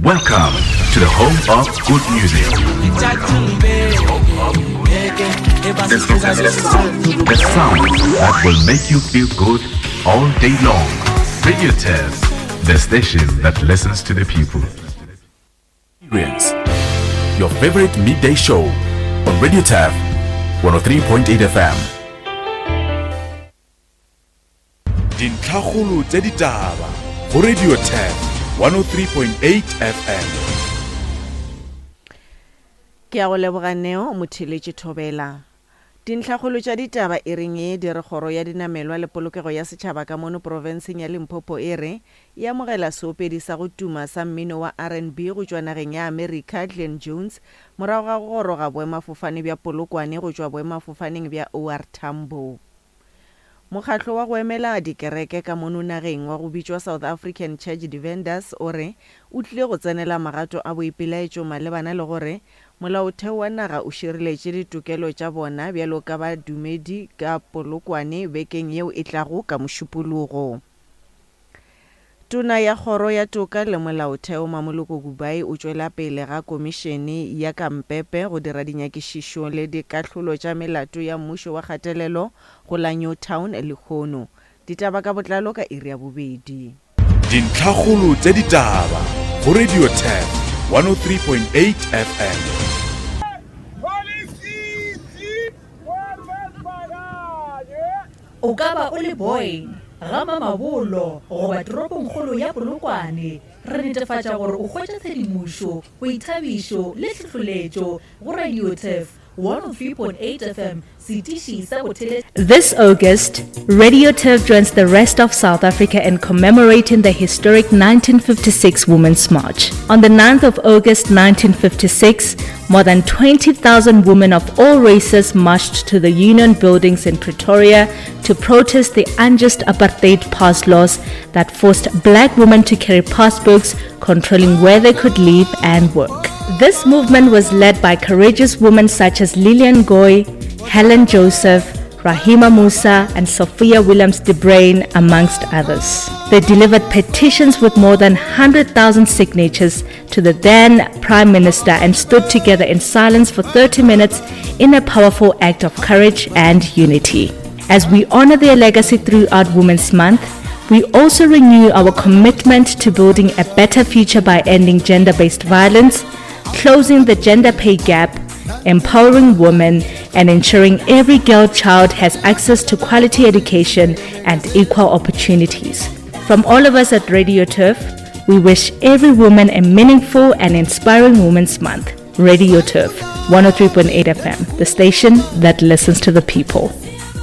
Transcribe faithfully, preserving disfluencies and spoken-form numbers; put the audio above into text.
Welcome to the home of good music. The sound that will make you feel good all day long. Radio Turf, the station that listens to the people. Experience your favorite midday show on Radio Turf one oh three point eight F M. Dintlhakgolo tša ditaba go Radio Turf one oh three point eight F M. Ke a go leboga Neo motheletše Thobela. Dintlhakgolo tša ditaba e reng e di re kgoro ya dinamelwa le polokego ya setšhaba ka mono profenseng ya Limpopo e re e amogela seopedi sa go tuma sa mmino wa R and B go tšwa nageng ya Amerika Glen Jones morago ga go goroga boemafofane bja Polokwane go tšwa boemafofaneng bja O R Tambo. Mokgatlo wa go emela dikereke ka mono nageng wa go bitšwa South African Church Defenders o re o tlile go tsenela magato a boipelaetšo malebana le gore molaotheo wa naga o šireletše ditokelo tša bona bjalo ka badumedi ka Polokwane bekeng yeo e tlago ka Mošupologo. Tona ya kgoro ya toka le molaotheo Mamoloko Kubayi o tšwela pele ga komišene ya Kampepe go dira dinyakišišo le dikahlolo tša melato ya mmušo wa kgatelelo go la Newtown lehono. Ditaba ka botlalo ka iri ya bobedi. Dintlhakgolo tša ditaba go Radio Turf one oh three point eight F M. O ka ba o le boy ga Mamabolo goba toropongkgolo ya Polokwane, re netefatša gore o hwetša tshedimošo, boithabišo le tlhohleletšo go Radio Turf one oh three point eight F M, setiši sa bothele. This August, Radio Turf joins the rest of South Africa in commemorating the historic nineteen fifty-six Women's March. On the ninth of August nineteen fifty-six, more than twenty thousand women of all races marched to the Union Buildings in Pretoria to protest the unjust apartheid pass laws that forced black women to carry passbooks controlling where they could live and work. This movement was led by courageous women such as Lillian Goy, Helen Joseph, Rahima Moosa and Sophia Williams de Bruyn, amongst others. They delivered petitions with more than one hundred thousand signatures to the then Prime Minister and stood together in silence for thirty minutes in a powerful act of courage and unity. As we honor their legacy throughout Women's Month, we also renew our commitment to building a better future by ending gender-based violence, closing the gender pay gap, empowering women, and ensuring every girl child has access to quality education and equal opportunities. From all of us at Radio Turf, we wish every woman a meaningful and inspiring Women's Month. Radio Turf, one oh three point eight F M, the station that listens to the people.